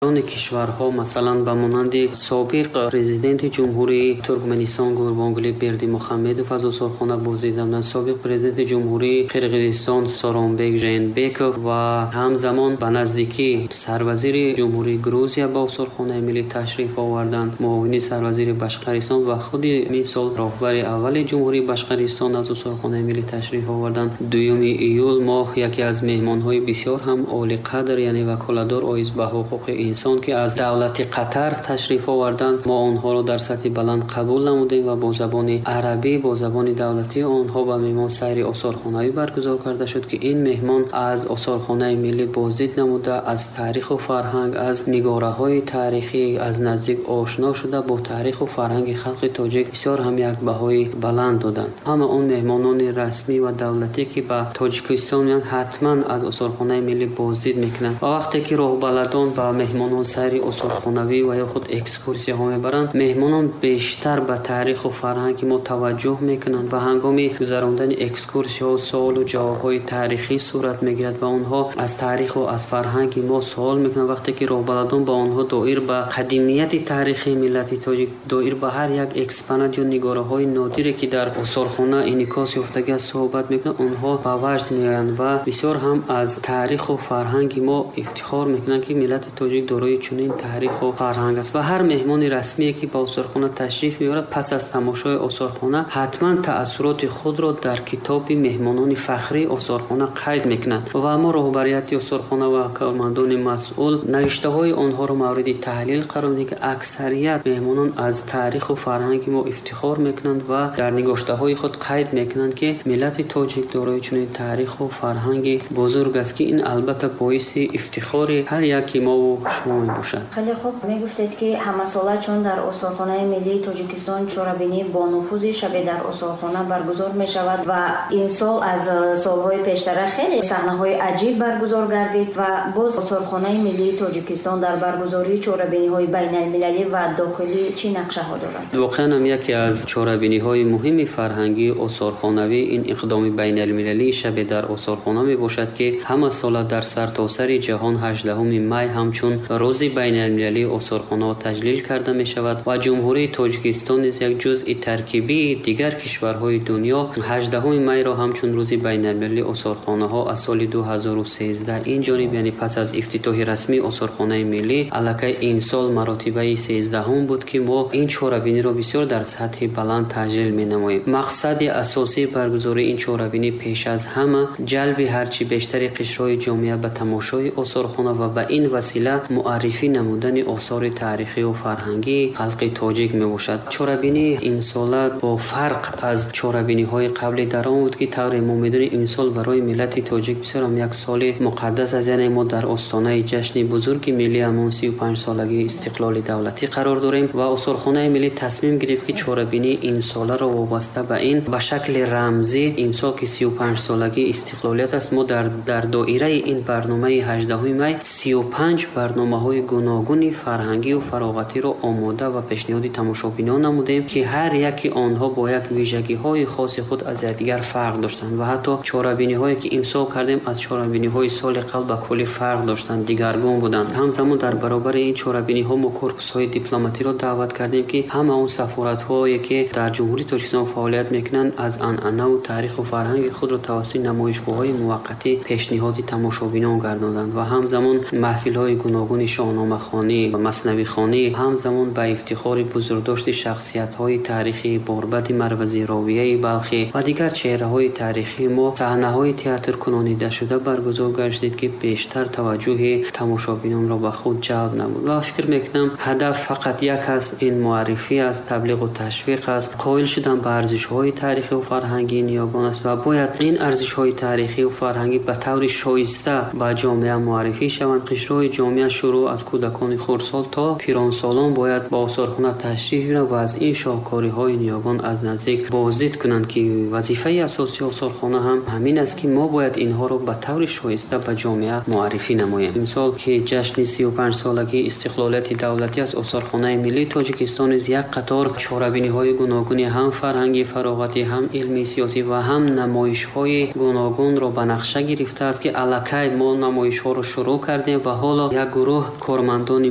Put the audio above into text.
Кишварҳо, масалан, ба монанди собиқ президенти Ҷумҳурии Туркманистон Гурбангулӣ Бердимухамедов аз осорхона боздид намуданд, собиқ президенти Ҷумҳурии Қирғизистон Сооронбек Жээнбеков ва ҳамзамон ба наздикӣ сарвазири Ҷумҳурии Грузия ба осорхонаи миллӣ ташриф оварданд, муовини сарвазири Башқаристон ва худи мисол роҳбари аввали Ҷумҳурии Башқаристон аз осорхонаи миллӣ ташриф оварданд. 2 июл моҳ яке аз меҳмонҳои бисёр ҳам олиқадр, яъне ваколатдор оид ба ҳуқуқи инсон, ки аз давлати Қатар ташриф оварданд, мо онҳоро дар сатҳи баланд қабул намудем ва бо забони арабӣ, бо забони давлатии онҳо ба меҳмон сайри осорхонавӣ баргузор карда шуд, ки ин меҳмон аз осорхонаи миллӣ боздид намуда, аз таъриху фарҳанг, аз нигораҳои таърихӣ аз наздик ошно шуда, бо таъриху фарҳанги халқи тоҷик бисёр ҳам як баҳои баланд доданд. Ҳама он меҳмонони расмӣ ва давлатӣ, ки ба Тоҷикистон меоянд, ҳатман аз осорхонаи миллӣ боздид мекунанд ва вақте ки роҳбаладон ба меҳмонон сайри осорхонавӣ ва ё худ экскурсияҳо мебаранд, меҳмонон бештар ба таъриху фарҳанги мо таваҷҷӯҳ мекунанд ва ҳангоми гузарондани экскурсияҳо суолу ҷавобҳои таърихӣ сурат мегирад ва онҳо аз таъриху аз фарҳанги мо суол мекунанд. Вақте ки роҳбаладон ба онҳо доир ба қадимияти таърихии миллати тоҷик, доир ба ҳар як экспонат ё нигораҳои нодире, ки дар осорхона инъикос ёфтагӣ аст, суҳбат мекунанд, онҳо ба ваҷд меоянд ва бисёр ҳам аз таъриху фарҳанги мо ифтихор мекунанд, ки миллати тоҷик дорои чунин таъриху фарҳанг аст. Ва ҳар меҳмони расмие, ки ба осорхона ташриф меорад, пас аз тамошои осорхона ҳатман таассуроти худро дар китоби меҳмонони фахрии осорхона қайд мекунад ва мо роҳбарияти осорхона ва кормандони масъул навиштаҳои онҳоро мавриди таҳлил қарор медиҳем, ки аксарият меҳмонон аз таъриху фарҳанги мо ифтихор мекунанд ва дар нигоштаҳои худ қайд мекунанд, ки миллати тоҷик дорои чунин таъриху фарҳанги бузург аст, ки ин албатта боиси ифтихори ҳар яки мову шумо мебошад. Хеле хуб, мегуфтед, ки ҳамасола чун дар осорхонаи миллии Тоҷикистон чорабинии бонуфузи шабе дар осорхона баргузор мешавад ва ин сол аз солҳои пештара хеле саҳнаҳои аҷиб баргузор гардид ва боз осорхонаи миллии Тоҷикистон дар баргузории чорабиниҳои байналмилалӣ ва дохилӣ чӣ нақшаҳо дорад? Воқеан ҳам яке аз чорабиниҳои муҳими фарҳангии осорхонавӣ ин иқдоми байналмилалии шабе дар осорхона мебошад, ки ҳамасола дар сартосари ҷаҳон 18 май ҳамчун рӯзи байналмилалии осорхонаҳо таҷлил карда мешавад ва Ҷумҳурии Тоҷикистон низ як ҷузъи таркибии дигар кишварҳои дунё 18 майро ҳамчун рӯзи байналмилалии осорхонаҳо аз соли 2013 ин ҷониб, яъне пас аз ифтитоҳи расмии осорхонаи миллӣ, аллакай имсол маротибаи 13 буд, ки мо ин чорабиниро бисёр дар сатҳи баланд таҷлил менамоем. Мақсади асосии баргузории ин чорабинӣ пеш аз ҳама ҷалби ҳарчи бештари қишрҳои ҷомеа ба тамошои осорхона ва ба ин васила муаррифӣ намудани осори таърихию фарҳангии халқи тоҷик мебошад. Чорабинии имсола бо фарқ аз чорабиниҳои қабли дар он буд, ки тавре мо медонем, имсол барои миллати тоҷик бисёр ҳам як соли муқаддас аст, яъне мо дар остонаи ҷашни бузурги миллӣ, ҳамон 35-солагии истиқлоли давлатӣ қарор дорем ва осорхонаи миллӣ тасмим гирифт, ки чорабинии имсоларо вобаста ба ин ба шакли рамзӣ, имсол ки 35-солагии истиқлолият аст, мо дар доираи ин барномаи 18 май 35 барномаҳои гуногуни фарҳангию фароғатиро омода ва пешниҳоди тамошобинон намудем, ки ҳар яки онҳо бо як вижагиҳои хоси худ аз якдигар фарқ доштанд ва ҳатто чорабиниҳое, ки имсол кардем, аз чорабиниҳои соли қабл ба куллӣ фарқ доштанд, дигаргун буданд. Ҳамзамон дар баробари ин чорабиниҳо мо корпусҳои дипломатиро даъват кардем, ки ҳама он сафоратҳое, ки дар Ҷумҳурии Тоҷикистон фаъолият мекунанд, аз анъанаву таъриху фарҳанги худро тавассути намоишгоҳҳои муваққатӣ пешниҳоди тамошобинон гардонданд ва ҳамзамон маҳфилҳои гуногуни шоҳномахонӣ ва маснавихонӣ, ҳамзамон ба ифтихори бузургдошти шахсиятҳои таърихӣ Борбади Марвазӣ, Ровияи Балхӣ ва дигар чеҳраҳои таърихии мо саҳнаҳои театркунонидашуда баргузор гардид, ки бештар таваҷҷӯҳи тамошобинонро ба худ ҷалб намуд. Ва фикр мекунам, ҳадаф фақат як аст, ин муаррифӣ аст, таблиғу ташвиқ аст, қоил шудан ба арзишҳои таърихию фарҳангии ниёгон аст ва бояд ин арзишҳои таърихию фарҳангӣ ба таври шоиста ба ҷомеа муаррифӣ шаванд. Қишрҳои ҷомеа шурӯъ аз кӯдакони хурдсол то пиронсолон бояд ба осорхона ташриф биёранд ва аз ин шоҳкориҳои ниёгон аз наздик боздид кунанд, ки вазифаи асосии осорхона ҳам ҳамин аст, ки мо бояд инҳоро ба таври шоиста ба ҷомеа муаррифӣ намоем. Имсол, ки ҷашни 35-солагии истиқлолияти давлатӣ аст, осорхонаи миллии Тоҷикистон низ як қатор чорабиниҳои гуногуни ҳам фарҳангӣ, фароғатӣ, ҳам илмӣ, сиёсӣ ва ҳам намоишҳои гуногунро ба нақша гирифтааст, ки аллакай мо намоишҳоро шурӯъ кардем ва ҳоло як гурӯҳ гурӯҳ кормандони